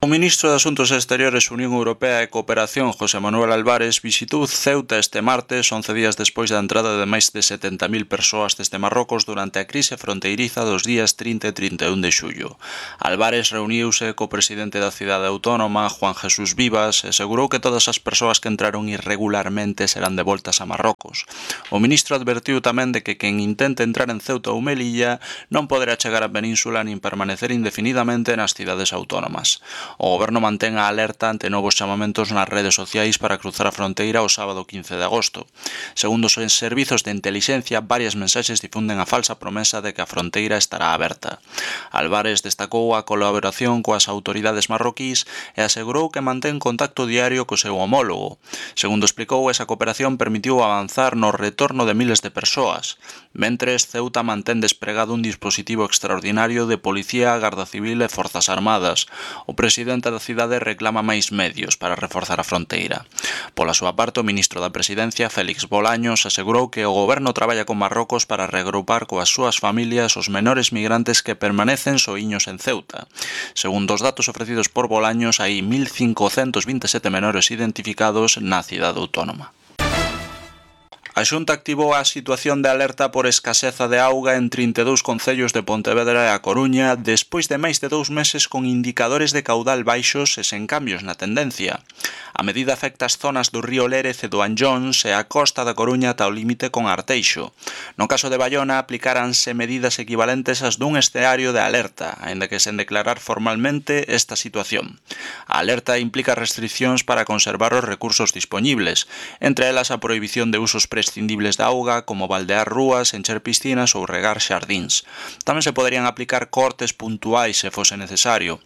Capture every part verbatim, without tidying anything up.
O ministro de Asuntos Exteriores, Unión Europea e Cooperación, José Manuel Álvarez, visitou Ceuta este martes, once días despois da entrada de máis de setenta mil persoas desde Marrocos durante a crise fronteiriza dos días trinta e trinta e un de xullo. Álvarez reuniuse co presidente da cidade autónoma, Juan Jesús Vivas, e asegurou que todas as persoas que entraron irregularmente serán devoltas a Marrocos. O ministro advertiu tamén de que quen intente entrar en Ceuta ou Melilla non poderá chegar á península nin permanecer indefinidamente nas cidades autónomas. O goberno mantén a alerta ante novos chamamentos nas redes sociais para cruzar a fronteira o sábado quince de agosto. Segundo os servizos de intelixencia, varias mensaxes difunden a falsa promesa de que a fronteira estará aberta. Álvarez destacou a colaboración coas autoridades marroquís e asegurou que mantén contacto diario co seu homólogo. Segundo explicou, esa cooperación permitiu avanzar no retorno de miles de persoas. Mentres, Ceuta mantén despregado un dispositivo extraordinario de policía, garda civil e forzas armadas. O presidente O presidente da cidade reclama máis medios para reforzar a fronteira. Pola súa parte, o ministro da Presidencia, Félix Bolaños, asegurou que o goberno traballa con Marrocos para reagrupar coas súas familias os menores migrantes que permanecen soíños en Ceuta. Segundo os datos ofrecidos por Bolaños, hai mil cincocentos vinte e sete menores identificados na cidade autónoma. A Xunta activou a situación de alerta por escaseza de auga en trinta e dous concellos de Pontevedra e A Coruña despois de máis de dous meses con indicadores de caudal baixos e sen cambios na tendencia. A medida afecta as zonas do río Lérez e do Anllóns e a costa da Coruña ata o límite con Arteixo. No caso de Baiona, aplicaranse medidas equivalentes ás dun escenario de alerta, aínda que sen declarar formalmente esta situación. A alerta implica restriccións para conservar os recursos dispoñibles, entre elas a prohibición de usos prescindibles da auga, como baldear rúas, encher piscinas ou regar xardíns. Tamén se poderían aplicar cortes puntuais se fose necesario.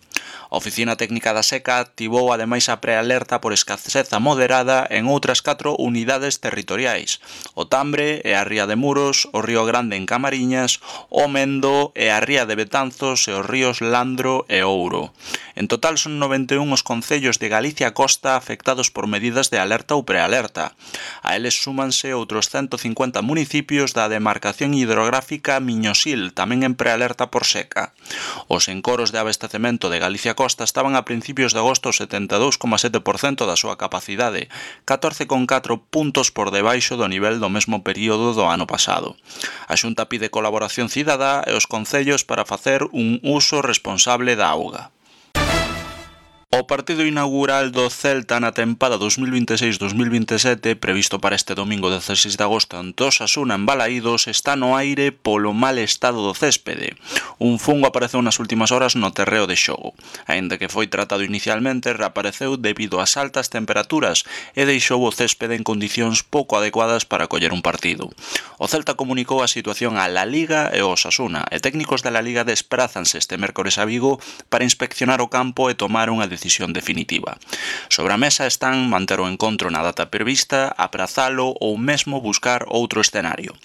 A Oficina Técnica da Seca activou ademais a prealerta por escaseza moderada en outras catro unidades territoriais: o Tambre e a Ría de Muros, o Río Grande en Camariñas, o Mendo e a Ría de Betanzos e os ríos Landro e Ouro. En total son noventa e un os concellos de Galicia Costa afectados por medidas de alerta ou prealerta. A eles súmanse outros ciento cincuenta municipios da demarcación hidrográfica Miñosil, tamén en prealerta por seca. Os encoros de abastecemento de Galicia Costa estaban a principios de agosto setenta e dous coma sete por cento da súa capacidade, catorce coma catro puntos por debaixo do nivel do mesmo período do ano pasado. A Xunta pide colaboración cidadá e os concellos para facer un uso responsable da auga. O partido inaugural do Celta na tempada dos mil vinte e seis dos mil vinte e sete, previsto para este domingo dezaseis de agosto ante o Osasuna en Balaídos, está no aire polo mal estado do céspede. Un fungo apareceu nas últimas horas no terreo de xogo. Aínda que foi tratado inicialmente, reapareceu debido ás altas temperaturas e deixou o céspede en condicións pouco adecuadas para coller un partido. O Celta comunicou a situación á La Liga e o Osasuna, e técnicos da La Liga desprázanse este mércores a Vigo para inspeccionar o campo e tomar unha decisión decisión definitiva. Sobre a mesa están manter o encontro na data prevista, aprazalo ou mesmo buscar outro escenario.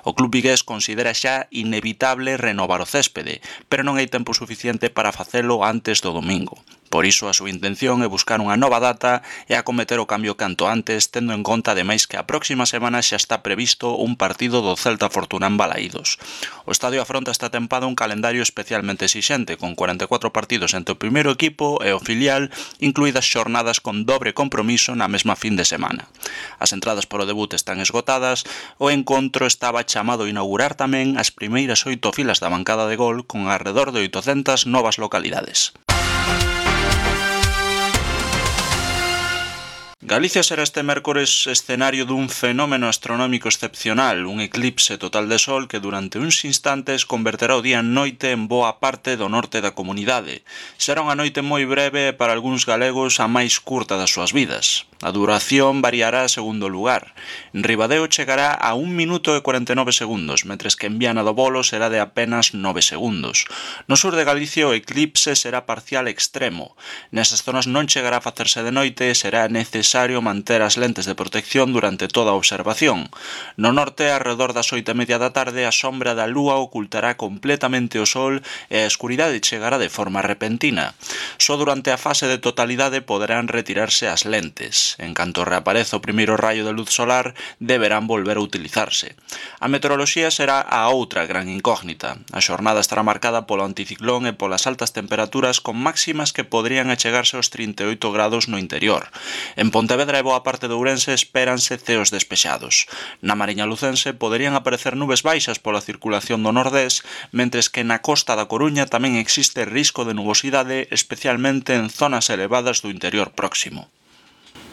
O club vigués considera xa inevitable renovar o céspede, pero non hai tempo suficiente para facelo antes do domingo. Por iso a súa intención é buscar unha nova data e acometer o cambio canto antes, tendo en conta ademais que a próxima semana xa está previsto un partido do Celta Fortuna en Balaídos. O estadio afronta esta tempada un calendario especialmente exixente, con cuarenta e catro partidos entre o primeiro equipo e o filial, incluídas xornadas con dobre compromiso na mesma fin de semana. As entradas para o debut están esgotadas, o encontro estaba chamado a inaugurar tamén as primeiras oito filas da bancada de gol con arredor de oitocentas novas localidades. Galicia será este mércores escenario dun fenómeno astronómico excepcional, un eclipse total de sol que durante uns instantes converterá o día en noite en boa parte do norte da comunidade. Será unha noite moi breve e para algúns galegos a máis curta das súas vidas. A duración variará segundo o lugar. En Ribadeo chegará a un minuto e cuarenta e nove segundos, mentres que en Viana do Bolo será de apenas nove segundos. No sur de Galicia o eclipse será parcial extremo. Nesas zonas non chegará a facerse de noite e será necesario necesario manter as lentes de protección durante toda a observación. No norte, arredor das oito e media da tarde, a sombra da lúa ocultará completamente o sol e a escuridade chegará de forma repentina. Só durante a fase de totalidade poderán retirarse as lentes. En canto reapareza o primeiro raio de luz solar, deberán volver a utilizarse. A meteoroloxía será a outra gran incógnita. A xornada estará marcada polo anticiclón e polas altas temperaturas con máximas que poderían achegarse aos trinta e oito grados no interior. En Pontevedra e boa parte de Ourense espéranse ceos despexados. Na Mariña Lucense poderían aparecer nubes baixas pola circulación do nordés, mentres que na costa da Coruña tamén existe risco de nubosidade, especialmente en zonas elevadas do interior próximo.